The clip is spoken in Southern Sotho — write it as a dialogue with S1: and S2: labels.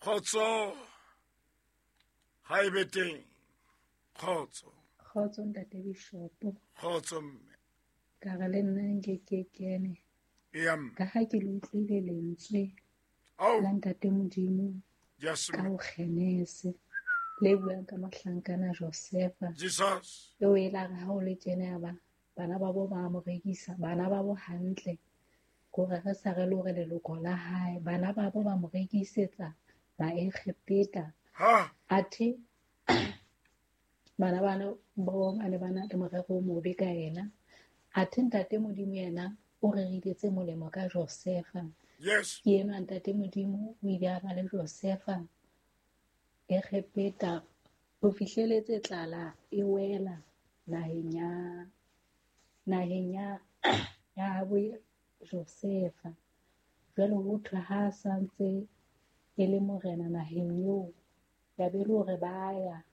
S1: Kgotso ha e be teng. Kgotso.
S2: Kgotso ntate Bishopo.
S1: Kgotso mme.
S2: Ka re le nna nke ke kene.
S1: Eya mme.
S2: Ka ha ke le utlwile lentswe la ntate Modimo ka ho Genese le buang ka mohlankana Josefa.
S1: Jesus.
S2: Eo e la re ha o le tjena ya ba bana ba bo ba mo rekisa, bana ba bo hantle. Kore re sa re le hore leloko la hae, bana ba bo ba mo rekisetsa Baegepeta. Athe bana bana bo ba ne ba na le morero o mobe ka yena. Athe ntate Modimo yena o rerile tse molemo ka Josefa.
S1: Yes.
S2: Ke enwa ntate Modimo o ile a ba le Josefa Egepeta ho fihleletse tlala e wela naheng ya naheng ya ya habo Josefa. Jwale ho thwe ha sa ntse e le morena naheng eo, ya be le hore ba ya.